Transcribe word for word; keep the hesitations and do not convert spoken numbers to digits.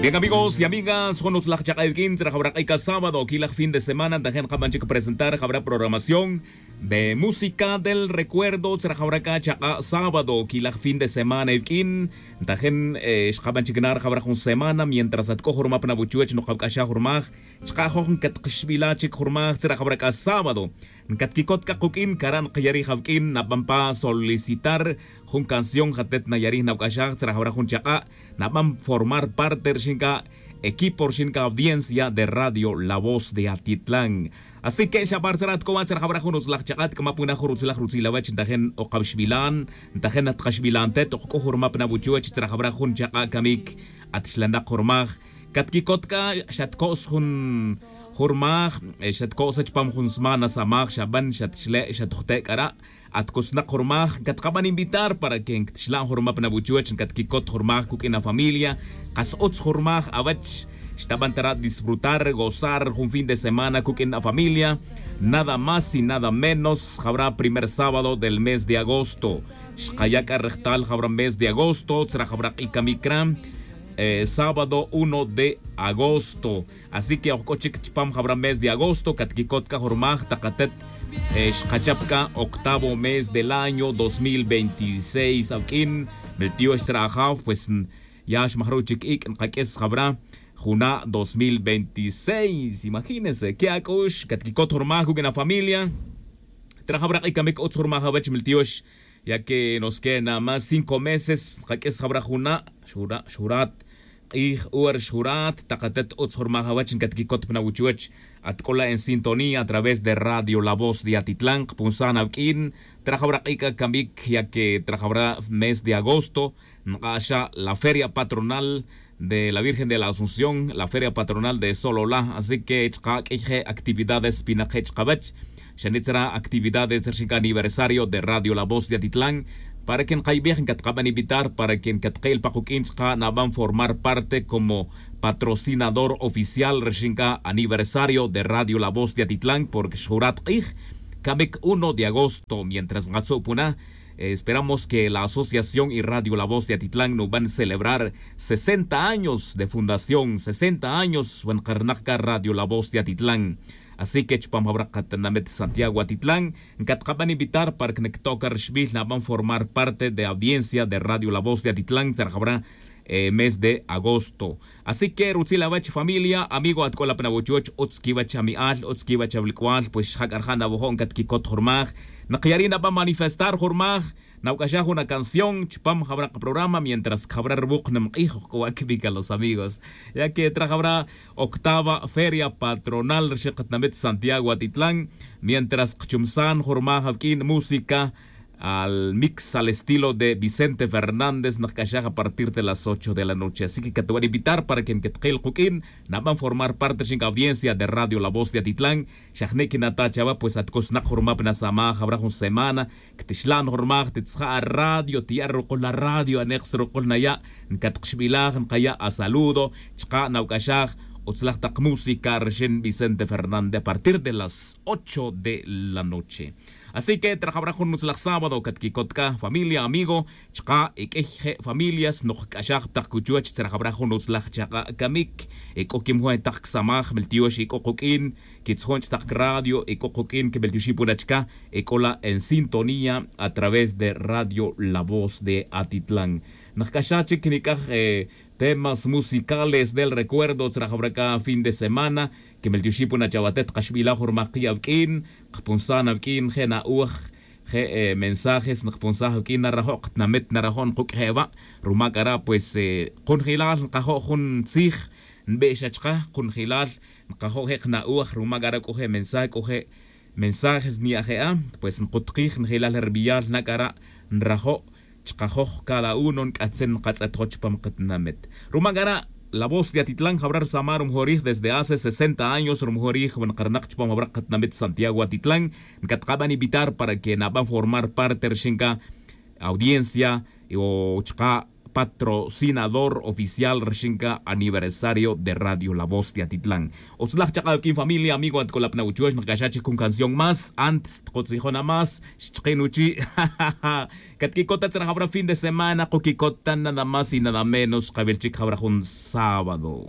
Bien, amigos y amigas, jun utzlaj chak'a' iwq'uin tzra jawra k'ay c'a sábado quilaj fin de semana ntajen kaban chic presentar jawra programación de música del recuerdo tzra jawra c'a chak'a' sábado quilaj fin de semana iwq'uin ntajen xkaban chic nar jawra jun semana mientras at c'o jurmaj pa nawuchuwech nukawc'axaj jurmaj chka' joj nkatkaxbila' chic jurmaj tzra jawra c'a sábado. Nkatquicot c'a kuq'uin cara' nkayarij awq'uin naban pa solicitar jun canción jatet nayarij nawc'axaj tzra jawra jun chak'a' naban formar parte rixin c'a equipo rixin c'a audiencia de radio la voz de atitlan. Así que xabar tzra at c'o wa' tzra jawra jun utzlaj chak'a' tk'ama puna jun rutzlaj rutzil awech ntajen okaxbilan ntajen atkaxbilan tet ok c'o jurmaj pa nawuchuwech tzra jawra jun chak'a' camic. Atxlanak jurmaj catquicot c'a xatco's jun jurmaj xatco'sa chupam jun smana samaj xaban xatxle' xatojte' c'ara'. Atcosnak jurmaj catkaban invitar para que nctixlan jurmaj pa nawuchuwech ncatquicot jurmaj cuq'uin afamilia. Kas utz jurmaj awech xtaban tara' disfrutar gozar jun fin de semana cuq'uin afamilia. Nada más y nada menos jawra primer sábado del mes de agosto xkaya' c'a rejtal jawra mes de agosto tzra jawra k'icamic ra. Sábado uno de agosto. Así que oj c'o chic chupam jawra mes de agosto catquicot c'a jurmaj tak atet xkachap c'a octavo mes del año dos mil veintiséis awq'uin. Miltiox tzra ajaw pues ya xmajruj chic ic' nkaq'ues jawra juna' dos mil veintiséis imagínense que ac'ux catquicot jurmaj cuq'uin afamilia. Tzra jawra k'icamic utz jurmaj awech miltiox ya que nos queda nada más cinco meses nkaq'ues jawra juna' xura' xurat k'ij ora xjurat tak atet utz jurmaj awech ncatquicot pa nawuchuwech. At c'o la en sintonía a través de radio la voz de atitlan kpunsaj na awq'uin. Tzra jawra k'ic'a camic ya que tzra jawra mes de agosto nk'axa la feria patronal de la virgen de la asunción la feria patronal de solola así que chka' q'uiy je' actividades pinak je' chkawech. Xanit tzra actividades rixin c'a aniversario de radio la voz de atitlan para que nkayibej ncatkaban invitar para que ncatkil pa kuq'uin chka' naban formar parte como patrocinador oficial rixin c'a aniversario de radio la voz de atitlan porque xjurat k'ij. Camic uno de agosto mientras nkatzu' puna esperamos que la asociación y radio la voz de atitlan nuban celebrar sesenta años de fundación sesenta años wan karnak c'a radio la voz de atitlan. Así que chupam jawra katinamit santiago atitlan nkatkaban invitar para que nkto' c'a rixbil naban formar parte de audiencia de radio la voz de atitlan tzra jawra mes de agosto. Así que rutzil awech familia amigo at c'o la pa nawuchuwech utz quiwech ami'al utz quiwech awilc'ual pues xjac'a rija' nawojo' ncatquicot jurmaj. Nkayari' naban manifestar jurmaj nawc'axaj jun acanción chupam jawra kaprograma mientras cjawra ruwuk nimk'ij oj c'o wa' cbica los amigos ya que tzra jawra octava feria patronal rixin katinamit santiago atitlan. Mientras kchumsan jurmaj awq'uin música al mix al estilo de vicente fernández nkc'axaj a partir de las ocho de la noche así que catwan invitar para que ncatkil kuq'uin naban formar parte rixin c'a audiencia de radio la voz de atitlan. Xajni' quinata' chawe pues atcosnak jurmaj pa nasamaj jawra jun semana. Ctixlan jurmaj titzja' a radio tiya' rukul a radio anek' srukul naya'. Ncatkaxbilaj nkaya' a saludo chka' nawc'axaj utzlaj tak música rixin vicente fernández a partir de las ocho de la noche. Así que tzra jawra jun utzlaj sábado catquicot c'a familia amigo chka' e q'uiy je' familias nokc'axaj tak cuchuwech tzra jawra jun utzlaj chaka' camic. E c'o quimjun e tak csamaj miltiox e c'o kuq'uin quitzjon ch'tak radio e c'o kuq'uin quimiltioxi puna chca. E c'o la en sintonía a través de radio la voz de atitlan. Nkc'axaj chic nic'aj temas musicales del recuerdo tzra jawra c'a fin de semana. Quimiltioxi puna chawatet kaxbilaj jurmaj ki' awq'uin. Kpunsaj na awq'uin je' na'oj je' mensajes nkpunsaj awq'uin narajo' katinamit narajo' nkuq'ueje' wa'. Ruma c'ara' pues kunjilal nkajo' jun tzij nbe'xa chka kunjilal nkajo' je' kna'oj ruma c'ara' c'o je' mensaje c'o je' mensajes nyaje'a. Pues nkutkij njilal rbiyal na c'ara' nrajo' chkajoj cada uno nk'atzen nkatz'etjo chupam katinamit. Ruma c'ara' la voz de atitlan jawra rsaman rumujorij desde hace sesenta años rumujorij wan karnak chupam jawra katinamit santiago atitlan. Nkatkaban invitar para que naban formar parte rixin c'a audiencia o chka' Patrocinador oficial rixin ca aniversario de radio la voz de atitlan. Utzlaj chak'aw kin familia amigo atcolap na uchuex nakaxach jun canción más antes tkotzijona más xchkin uchi'. Catquicota tzra jawra fin de semana kokicota nada más y nada menos kawil chic jawra jun sábado.